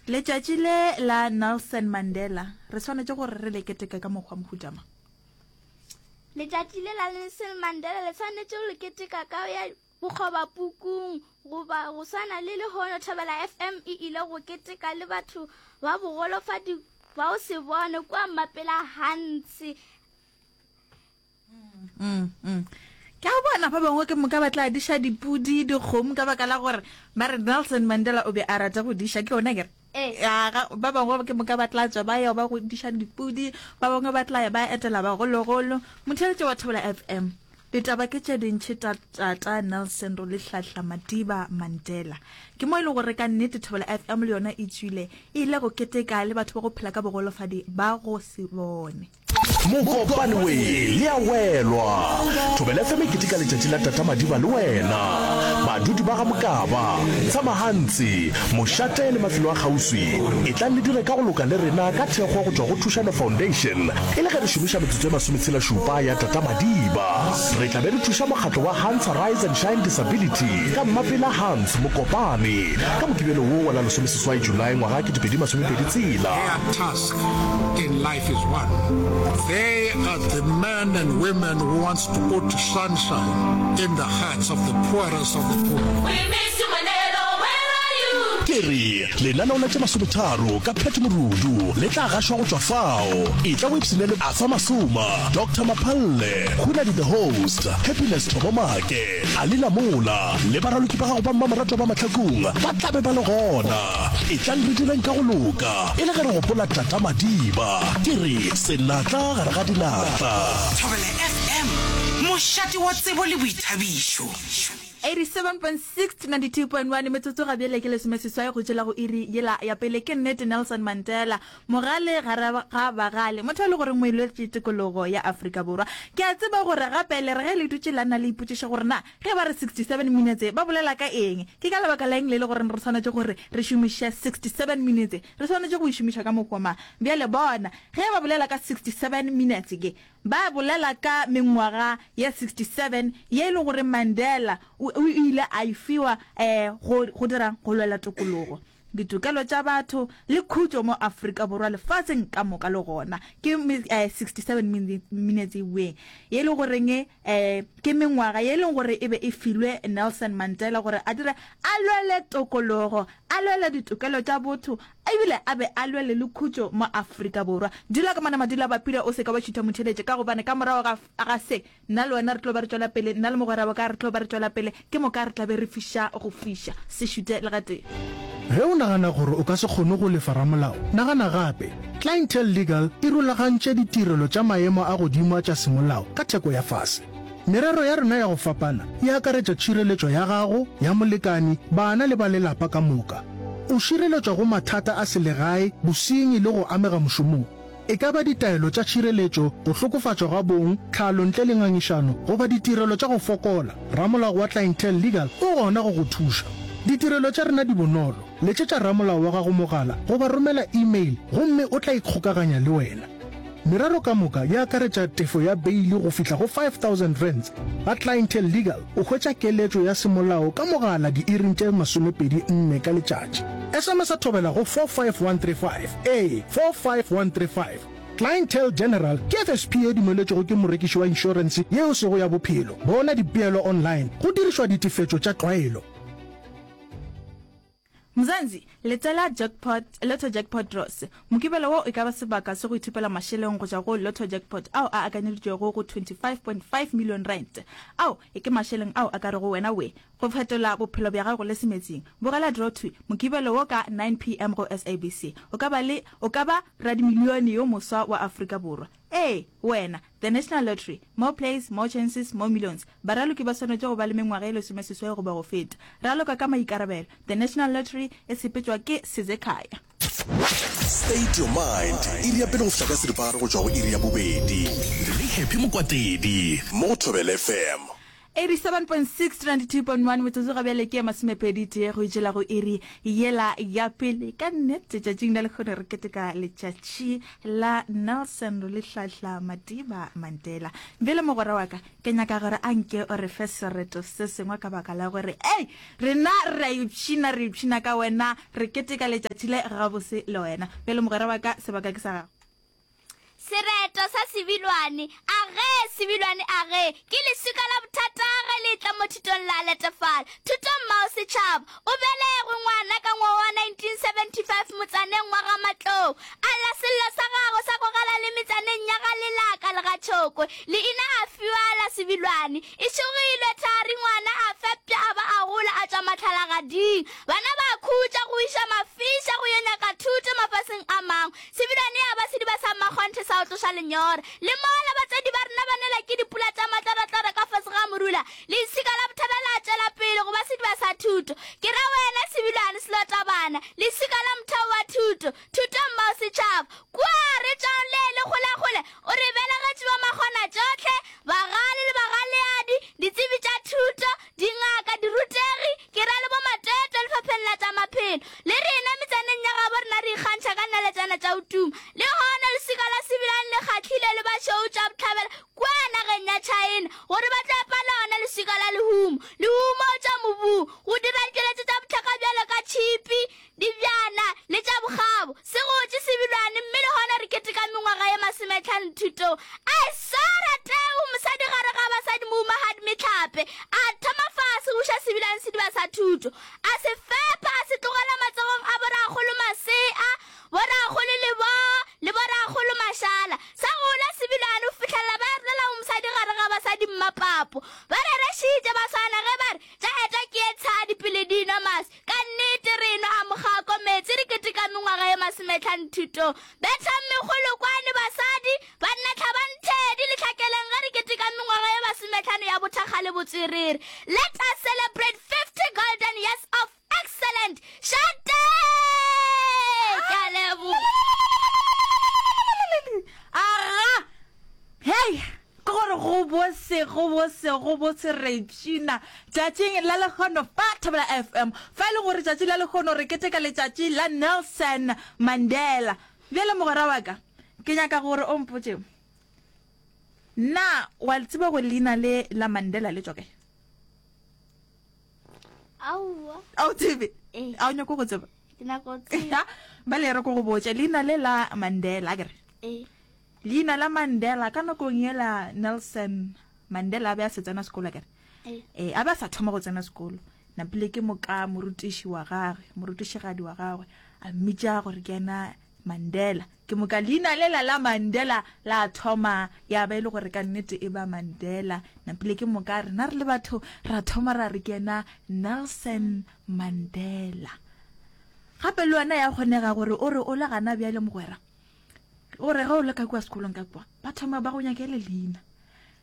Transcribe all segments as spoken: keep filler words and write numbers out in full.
Letšatši le la Nelson Mandela re swanetše gore re le keteke ka mokgwa mohuta mang? Letšatši le la Nelson Mandela le swanetše go le keteka ka ya bokgobapukung goba go swana le lehono Thobela F M e ile go keteka le batho ba bogolofadi ba go se bone kua Mmapela Hans. Mm, mm. Ke a bona ba bangwe ke moka ba tla diša dipudi, dikgomo ka baka la gore ba re Nelson Mandela o be a rata go diša, ke yona kere? Ee. Ya, ga, ba bangwe ke moka ba tla tswa ba ya ba go diša dipudi, ba bangwe ba tla ya ba etela bagologolo. Motheeletši wa Thobela F M, ditaba ke tše dintši ta tata Nelson Rolihlahla Madiba Mandela. Ke mo e le gore ka nnete Thobela F M le yona e tswile e ile go keteka le batho ba go phela ka bogolofadi ba go se bone. Mokopane we le a welwa. Thobela F M e keteka letšatši la Tata Madiba le wena. Badudi ba ga Mokaba, Tshamahantsi, Mošate le mafelo a kgauswi, etlang le dire ka go loka le rena ka thekgo go tšwa go Thušano Foundation e le ge re šomiša metsotso e masometshela šupa ya Tata Madiba. Re tla be re thuša mokgatlo wa Hans Rise and Shine Disability ka Mmapela Hans Mokopane ka Mokibelo wo wa la lesomeseswai Julae ngwaga ketepedi masomepedi tshela. Their task in life is one. They are the men and women who wants to put sunshine in the hearts of the poorest of the poor. We miss you Mandela, where are you? Ke re lenaneo la tše masometharo ka Pat Morudu le tla gašwa go tšwa fao. Etla o ipshine le Arthur Masoma, Doctor Maphalle, Hunadi the host, Happiness Thobo Make, Ali Lamola le baraloki ba gago ba mmamoratwa ba Mahlakung ba tla be ba le gona. Etlang re direng ka go loka e le ge re gopola Tata Madiba. Ke re senatla gare ga dinatla. Thobela F M, mošate wa tsebo le boithabišo. eighty-seven point six to ninety-two point one, metsotso ga bjale ke lesomeseswai go tšwela go iri yela ya pele. Ke nnete, Nelson Mandela, mogale gare ga bagale, motho e le goreng o elwetše tikologo ya Afrika Borwa. Ke a tseba gore gape le re ge le dutše la nna le ipotšiša gore na ge ba re sixty-seven minutes ba bolela ka eng, ke ka lebaka la eng le le goreng re swanetše gore re šomiše sixty-seven minutes, re swanetše go e šomiša ka mokgwa mang. Bjale bona, ge ba bolela ka sixty-seven minutes ke ba bolela ka mengwaga ya sixty-seven ye e le gore Mandela o o ile a e fiwa um go go dirang, go lwela tokologo, ditokelo tša batho le khutšo mo Afrika Borwa, lefaseng ka moka. Le gona ke eh, sixty-seven minutes we ye le goreng eh ke mengwaga ye leng gore e be e filwe Nelson Mandela gore a dire, a lwele tokologo, a lwele ditokelo tša botho, ebile a be a lwele le khutšo mo Afrika Borwa. Dula ka mana madula bapile, o se ka wa šutha motheletše, ka gobane ka morago ga ga se nna le wena re tlo ba re tšwela pele, nna le mogwera wa ka re tlo ba re tšwela pele, ke moka re tla be re fiša go fiša. Se šute le gatee. Ge o nagana gore o ka se kgone go lefa ramolao, nagana gape. Clientele Legal e rulagantše ditirelo tša maemo a godimo a tša semolao ka theko ya fase. Merero ya rena ya go fapana e akaretša tšhireletšo ya gago, ya molekani, bana le ba lelapa ka moka. O šireletšwa go mathata a selegae, bosenyi le go amega mošomong. E ka ba ditaelo tša tšhireletšo, go hlokofatšwa ga bong, tlhalo ntle le ngangišano goba ditirelo tša go fokola, ramolao wa Clientele Legal o gona go go thuša. Ditirelo tša rena di bonolo. Letšetša ramolao wa gago mogala goba romela email gomme o tla ikgokaganya le wena. Merero ka moka e akaretša tefo ya beile go fihla go five thousand rands. Ga Clientele Legal o hwetša keletšo ya semolao ka mogala diiring tše masomepedi nne ka letšatši. S M S a Thobela go four five one three five, ee, four five one three five. Clientele General ke F S P e dumeletšwego ke morekiši wa inšorense yeo sego ya bophelo. Bona dipeelo online go dirišwa ditefetšo tša tlwaelo. Mzansi, letela jackpot, Lotto Jackpot Draws. Mokibelo wo e ka ba sebaka se go ithupela mašeleng go tšwa go Lotto Jackpot ao a akanyeditšwego go twenty-five point five million rand. Ao e ke mašeleng ao a ka rego wena we go fetola bophelo bja gago le semetsing. Bogela draw two Mokibelo wo ka nine P M go S A B C. O ka ba le o ka ba radimilione yo moswa wa Afrika Borwa. Ee, wena. The National Lottery. More plays, more chances, more millions. Baraloki ba swanetše go ba le mengwaga e lesomeseswai goba go feta. Raloka ka maikarabelo. The National Lottery e sepetšwa ke Sizekhaya. State Your Mind, iri ya pele go fihla ka seripagare go tšwa go iri ya bobedi le Happy Mokwatedi mo go Thobela F M. Eighty-seven point six to ninety-two point one metsotso ga bjale ke masomepedi tee go itšela go iri yela ya pele. Ka nnete tšatšing la lekgono re keteka letšatši la Nelson Rolihlahla Madiba Mandela. Bjale mogwera wa ka, ke nyaka gore a nke o re fe sereto se sengwe ka baka la gore ei rena re a ipshina, re ipshina ka wena, re keteka letšatši le gabose le wena. Bjale mogwera wa ka, sebaka ke sa gago. Sereto sa Sebilwane, Age, Sebilwane, age, ke leswika la bothata ge le etla mo thutong la letefala. Thuto mmao setšhaba. O belegwe ngwana ka ngwaga wa nineteen seventy five motsaneng wa ga Matlou. A lla sello sa gagwe sa kwagala le metsaneng ya ga Lelaka le ga Tšhokwe. Leina a fiwa la Sebilwane. E šogilwe thari ngwana a fepša a ba a gola a tšwa mahlalagading. Bana ba khutša go iša mafiša go yo nyaka thuto mafaseng a mangwe. Sebilwane ya ba sediba sa mmakgonthe sa go tloša lenyora. Le mola batswadi ba rena ba nela ke dipula tša matlorotloro ka fase ga morula, leswika la bothata la tšwela pele go ba sediba sa thuto. Ke ra wena Sebilwane Selotabana, leswika la motheo wa thuto, thuto mmao setšhaba. Kua re tšwang le le kgolekgole, o re belegetše ba makgona tšohle, bagale le bagaleadi, ditsebi tša thuto, dingaka, dirutegi, ke ra le bomatwetwe lefapheng la tša maphelo. Le rena metsaneng ya gabo rena re ikgantšha ka naletšana tša go tuma. Le gona leswika la Sebilwane le kgahlile le bašweu tša bohlabela kua nageng ya China gore ba tlo epa lona leswika la lehumo. Lehumo tša mobung go dira ditšweletšo tša bohlokwa bjalo ka tšhipi, dibjana le tša bokgabo. Se gotše Sebilwane mme le gona re keteka mengwaga ye masometlhano thutong. A e swara teu mosadi gare ga basadi mohumagadi Mehlape a thoma fase go uša Sebilwane sediba sa thuto. A se fepa a se tlogela matsogong a borakgolo Masea, borakgolo Leboa le borakgolo Mashala. Sa gola Sebilwane go fihlelela ba rolela go mosadi gare ga basadi Mmapapo. Ba rerešitše ba swana ge ba re tša eta ke ye tshadi pele di nwa maswi. Ka nnete re nwa a mokgako meetse re keteka mengwaga ye masometlhano thutong. Bethang mekgolokwane basadi, banna hlabang thedi le hlakeleng ge re keteka mengwaga ye masometlhano ya bothakga le botswerere. Let us celebrate fifty golden years of excellent Šate! Ke a leboga. Aga! Hei! Ke gore go bose, go bose, go bose re ipshina tšatšing la lehono fa Thobela F M. Fa e le gore tšatši la lehono re keteka letšatši la Nelson Mandela. Bjale mogwera wa ka, ke nyaka gore o mpotše, na wa tseba gore leina le la Mandela le tšwa kae? Aowa. A o tsebe? Ee. A o nyako go tseba? Ke nyako go tseba. Bale re ko go botše leina le la Mandela, akere? Ee. Leina la Mandela ka nakong yela Nelson Mandela a be a se tsena sekolo, akere? Ee. Ee, a be a sa thoma go tsena sekolo. Napile ke moka morutiši wa gagwe, morutišigadi wa gagwe, a mmitša gore ke yena Mandela. Ke moka leina lela la Mandela la thoma ya ba e le gore ka nnete e ba Mandela. Napile ke moka rena re le batho ra thoma ra re ke yena Nelson Mandela. Gape le wena ya kgonega gore o re o le gana bjale mogwera, gore ge o le ka kua sekolong ka kua ba thoma ba go nyakele leina.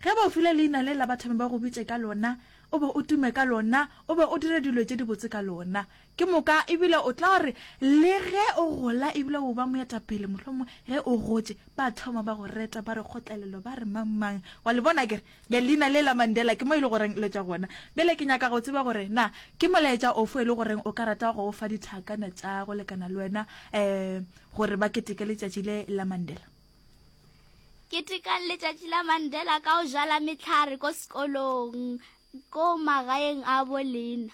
Ge ba o file leina le la ba thome ba go bitše ka lona, o be o tume ka lona, o be o dire dilo tše dibotse ka lona. Ke moka ebile o tla gore le ge o gola ebile o ba moetapele mohlomongwe ge o gotše ba thoma ba go reta ba re kgotlelelo ba re mang mang. Wa le bona kere bja leina le la Mandela ke mo e le goreng le tšwa gona. Bjale ke nyaka go tseba gore na ke molaetša ofe e le goreng o ka rata go o fa dithakana tša go lekana le wena um gore ba keteke letšatši le la Mandela. Ketekang letšatši la Mandela ka go jala mehlare ko sekolong, ko magaeng a bolena.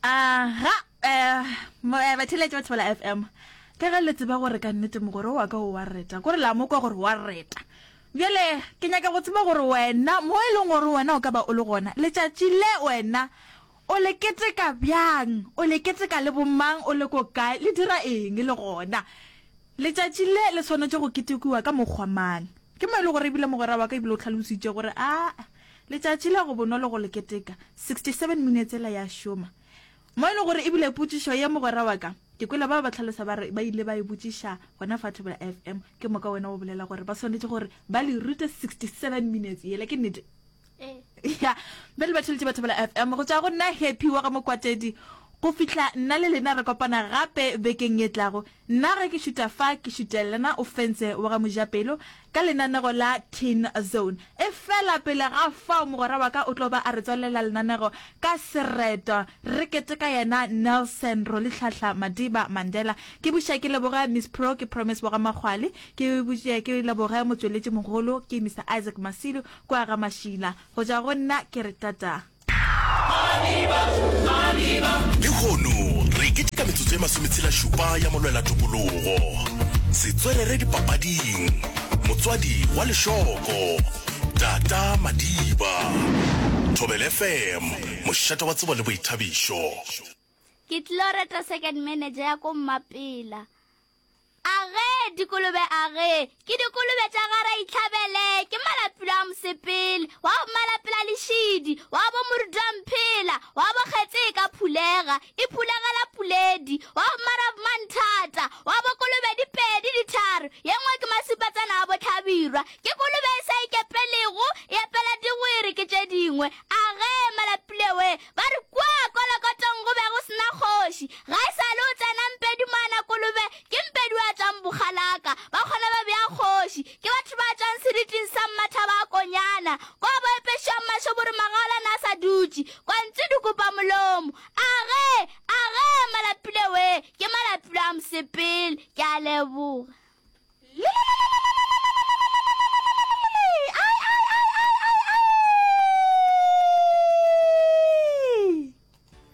Aha, eh, batheeletši ba Thobela F M, ka ge le tseba gore ka nnete mogwera wa ka o wa reta, kore la mo kwa gore wa reta. Bjale ke nyaka go tseba gore wena mo e leng gore wena o ka ba o le gona letšatši le wena o le keteka bjang, o le keteka le bomang, o le ko kae, le dira eng le gona. Letšatši le le swanetše go ketekiwa ka mokgwa mang? Ke mo e le gore ebile mogwera wa ka ebile o tlhalositše gore a letšatši le go bonolo go le keteka sixty-seven minutes ela ya šoma. Mo e le gore ebile potšišo ye mogwera wa ka ke kwele ba ba tlhalosa ba re ba ile ba e botšiša gona fa Thobela F M, ke moka wena o bolela gore ba swanetše gore ba le rute sixty-seven minutes yela, ke nnete? Ee. Ya, bjale ba theletše ba Thobela F M go tšwa go nna Happy wa ga Mokwatedi Go fihla nna le lena re kopana gape bekeng ye tlago, nna ge ke šuta fa ke šutelena Ofentse wa ga Mojapelo ka lenanego la Teen Zone. Efela pele ga fao mogwera wa ka o tlo ba a re tswalela lenanego ka sereto re keteka yena Nelson Rolihlahla Madiba Mandela. Ke buša ke leboge Miss Pro ke Promise wa ga Makgwale, ke buše ke leboge motšweletši mogolo ke Mister Isaac Masilu kua ga Mašila. Go tšwa go nna ke re tata. Lehono re keteka metsotso e masometshela-šupa ya molwela-tokologo, setswerere dipapading, motswadi wa lešoko, Tata Madiba. Thobela F M, mošate wa tsebo le boithabišo. Ke tlilo reta second manager ya ko Mmapela. Age, dikolobe age, ke dikolobe tša ga Raitlhabele, ke malapilo a mosepele, wa bo malapela lešidi, wa bo morutwamphela, wa bo kgetse e ka phulega, e phulegela puledi, wa bo marabmanthata, wa bo kolobe di pedi di tharo, ye nngwe ke masupatsana a bohlabirwa, ke kolobe e sa ikepelego, e epela digwere ke tše dingwe. Age, malapile we, ba re kua Kolokotong go be go se na kgoši, ga e sa le o tsena Mpedi moana kolobe, ke Mpedi wa tšwang Bokgalaka, ba kgona ba bea kgoši, ke batho ba tšwang seriting sa Mmathaba a Konyana, kwa bo epešiwang mašoboro magaolana a sa dutše, kwa ntsu di kopa molomo. Age! Age! Malapile we, ke malapile a mosepele. Ke a leboga.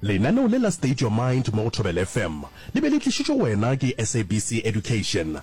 Lenaneo le la State Your Mind mo go Thobela F M le be le tlišitšwe go wena ke S A B C Education.